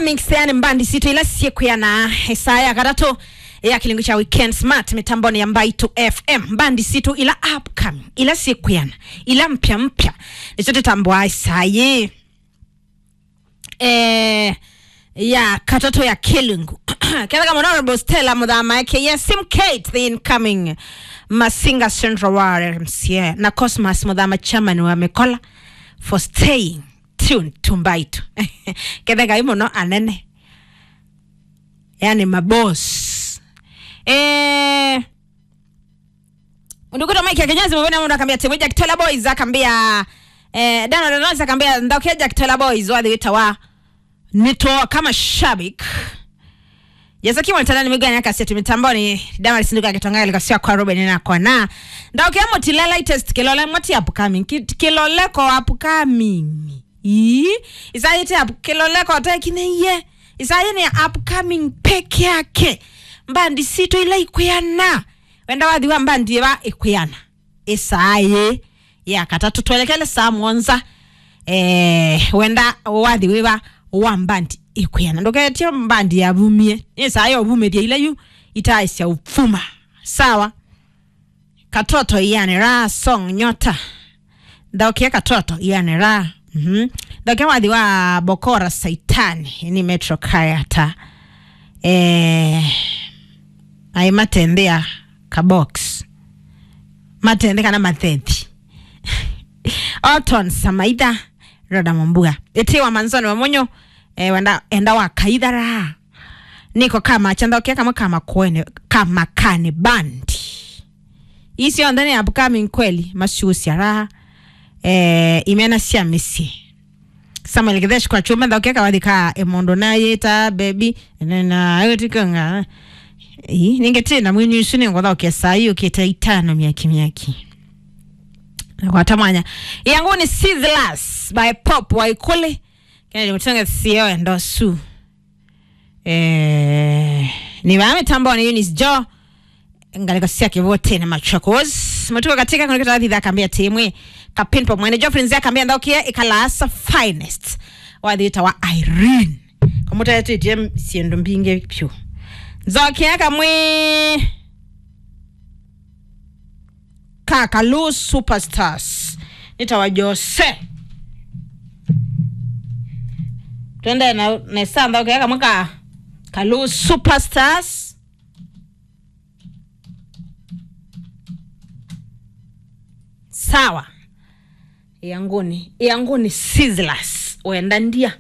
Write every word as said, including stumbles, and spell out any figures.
Thanks, yani mbandi sitũ ila syĩkwĩana ĩsaa ya katatũ ya kĩlungu kya Weekend Smart mĩtambonĩ ya Mbaitu F M. Mbandi sitũ ila upcoming, ila syĩkwĩana, ila mpya mpya, nĩsyo tũtambũaa ĩsaa yĩĩ. Eh, ya katatũ ya kĩlungu. Ketheka mũno Honorable Stella Mũthama, aka Sim Kate, the incoming Masinga Central Ward M C A, na Cosmas Mũthama, chairman wa Mĩkola, for staying tuned to Mbaitu. Ketheka ĩ mũno anene. Yani maboss. Eh, Mũndũ kwĩtwa Mike Kenyezi, mũvene mũndũ akambia, timu Jack Tola Boys, akambia, eh, Dano Dano akambia, ndaukia Jack Tola Boys, wathi wĩtawa nĩtoo kama shabik. Jasa kimwe tana ni migani akaseti mitamboni, Dama sinduka kitonga likasia kwa Ruben na kwa na. Ndaukia Mutila latest, Kilole moti upcoming, ki-, Kilole ko upcoming. Ii, ĩsaa yĩĩ te up-, Kĩloleko ũtekinĩie. Ĩsaa yĩĩ nĩ ya upcoming peke yake. Mbandi sitũ ila ikwĩana. Wenda wathi wa mbandi ĩva ĩkwĩana? Ĩsaa yĩĩ ya katatũ. Twelekele saa mũonza. Eh, wenda wathi wĩva wa mbandi ĩkwĩana? Ndũketye mbandi yavumie. Nĩ ĩsaa ya ũvumĩthya ila yu itaĩsya ũvuma. Sawa. Katoto iane raha song nyota. Thaũkĩa katoto iane raha. Mhm. Thaũkĩa wathi wa Bokora Saitani, ni Metro Kayata. Eh, ai matendea ka box. Matende kana mathethi. Oton Samaitha, Roda Mombua. Ĩtĩ wa Manzoni wa Monyo, eh, wenda, enda wa Kaitha raha. Niko kama chandaokia kama kama kwene, kama kane bandi. Isi onthe ni upcoming kweli, masiusya raha. Eh, imena sya mĩsyĩ. Samuel Kithesh kwa chuma, thaũkĩa kawathi ka emondo na yĩta baby. Na, na, ayo tikanga. Ii, ningetina mwini isu ni ngothaũkĩa saa yu kĩte itano miaki miaki. Na kwa tamanya. Yangu ni Sizzlers by Pop Waikuli. Kennedy Mutunga sio endosu. Eh, ni vaa mitamboni Eunice Jo. Ngalĩko sya Kĩvũtĩnĩ Machakos. Mũtuko katika kũnĩkĩta thitha akambia timwe. Kapin pa mwene Geoffrey Nzia akambia thaũkĩa ĩkalasa finest. Wathi wĩtawa Irene. Kamũtetĩtye syĩndũ mbingĩ vyũ. Nzokia kamwe. Ka Kalu Superstars. Nĩtawa Jose. Twende na nesa nthaũkĩa kamwe ka Kalu Superstars. Sawa. Yanguni, yanguni Sizzlers. Wenda ndia.